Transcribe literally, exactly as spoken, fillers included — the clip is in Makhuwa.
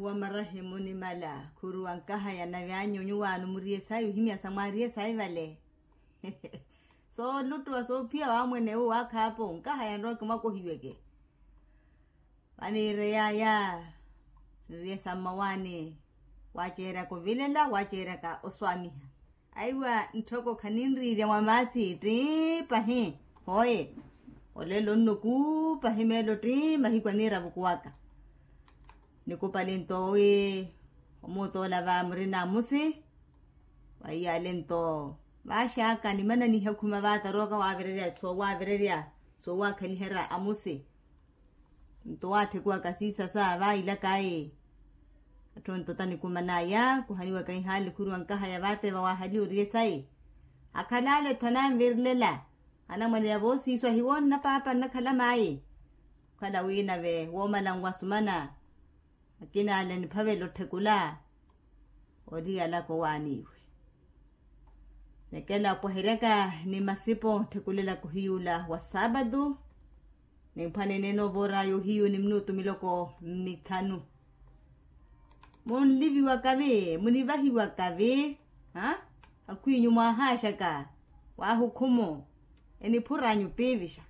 Wa marahimu nimala khuruwa nkahaya na vyanyu nyuwaano muriye sayi ohimya sa mwaariye sayi vale. Sooluttuwa soophiya waamwene uwo waakhaapo nkahaya nrowa kimwakohiweke. Vaniire yaaya niriye sa mmawaani. Waaceeryaka ovilela waaceeryaka oswaamiha. Aiwa ntthoko khaninriirya mwa maasi tti pahi. Hooye, olelo nno kuu pahi meelo tti mahiku aniira avukuwaka. Nikupali nto wi omuutoola va murina amusi. Waiyale nto vaaxaka nimananihe khuma vaataroka waavirerya soowavirerya soowakhaliherya amusi. Nto waatthekuwaka siisasa vaailaka ayi. Atthu ontota nikumanaya kuhaniwaka ihaali khuruwa nkahaya vaateva waahaliwa oriye sayi. Akhalaale-tho ananvirilela anamwane ya voosiiswa hiwoonna paapa nnakhala maayi. Okhala wi nave woomala nwasumana akinaale niphavela otthekula. Oliyalaka owaaniiwe. Nekela opwaheryaka ni masipo otthekulelaka ohiyuula wa saapatu. Nimphwaneneene ovooraya ohiyu ni minutu miloko mmithanu. Munliviwaka vi munivahiwaka vi? Akhwinyu mwaahaxaka waahukhumu eniphur'anyu piivixa.